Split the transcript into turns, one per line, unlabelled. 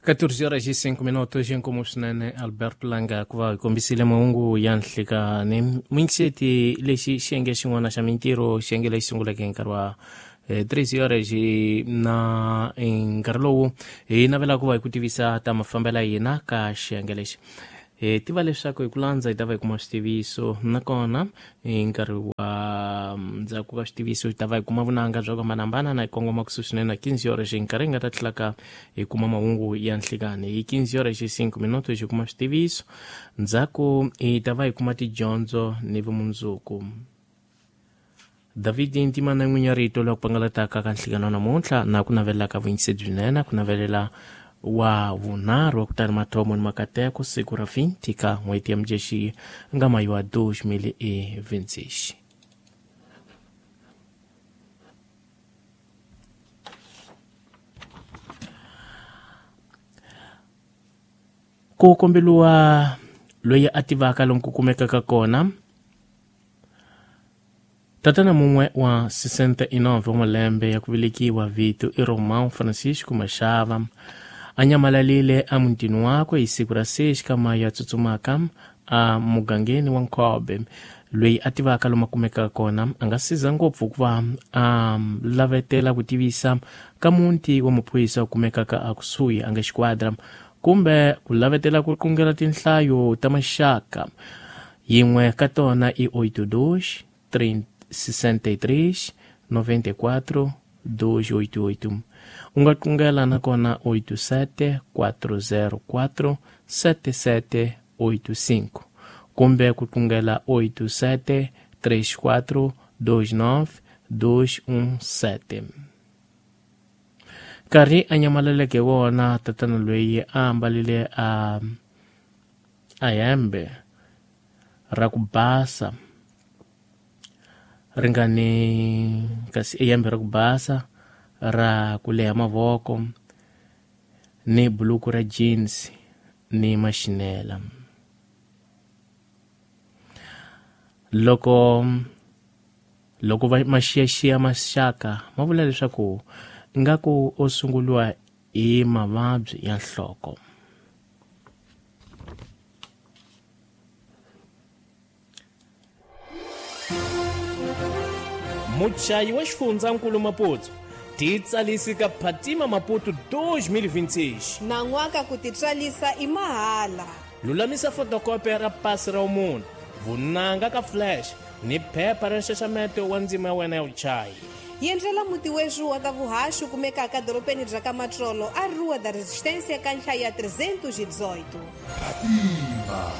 14 horas e 5 minutos inkomo swinene Alberto Langa ku va hi kombisile mahungu ya nhlikani. Muyingiseti, lexi xiyenge xin'wana xa mintirho, xiyenge lexi sunguleke hi nkarhi wa 3 horas na nkarhi lowu hi navela ku va hi ku tivisa ta mafambelo ya hina ka xiyenge lexi. Hi tiva leswaku hi ku landza hi ta va hi kuma switiviso, nakona hi nkarhi wa ndzhaku ka switiviso hi ta va hi kuma vunanga bya ku hambanahambana na hi kongoma kusuhi swinene na 15 horas, hi nkarhi hi nga ta tlhelaka hi kuma mahungu ya nhlikani. Hi 15 horas e 5 minutos hi kuma switiviso, ndzhaku hi ta va hi kuma tidyondzo ni vumundzuku. David Ntimana, n'winyi ya rito loku pangalataka ka nhlikano namuntlha, na ku navelelaka vuyingiseri byinene, ku navelela wa vunharhu wa kutani mathomo ni makateko siku ra 20 ka n'hweti ya Mudyaxihi nga mayi wa 2026. Ku kombeliwa loyi a tivaka lomu ku kumekaka kona tatana mun'we wa 69 wa malembe ya ku velekiwa, vito i Romão Francisco Mashava, a nyamalalile emutini wakwe hi siku ra 6 ka mayi ya tsutsumaka a mugangeni wa Nkhobe. Loyi a tivaka lomu a kumekaka kona a nga siza ngopfu ku va a lavetela ku tivisa ka muti wa maphorisa wu kumekaka akusuhi a nga xiquadra, kumbe ku lavetela ku qungela tinhlayo ta maxaka. Yin'we ka tona i 82 63 94 288. U nga qungela nakona 87 404 7785, kumbe ku qungela 87 34 29 217. Nkarhi a nyamaleleke wona, tatana loyi a ambalile a hembe ra ku basa ri nga ni kasi i hembe ra ku basa ra ku leha mavoko ni buluku ra jeans ni maxinela. Loko va maxiyaxiya maxaka ma vula leswaku ingaku o sunguriwa hi mavabyi ya nhloko. Muchayi wa xifundzankulu Maputo, titsalisi ka Phatima Maputo 2026.
Nan'waka ku titswalisa i mahala.
Lulamisa fotokopi ra pasi ra munhu, vunanga ka flash ni phepha ra nxaxameto wa ndzima ya wena ya vuchayi.
Yendlela muti wexu wa ta vuhaxi kumekaka dorobeni bya ka Matsolo, a Rua da Resistência, ka nhlayo ya 318.
Phatima.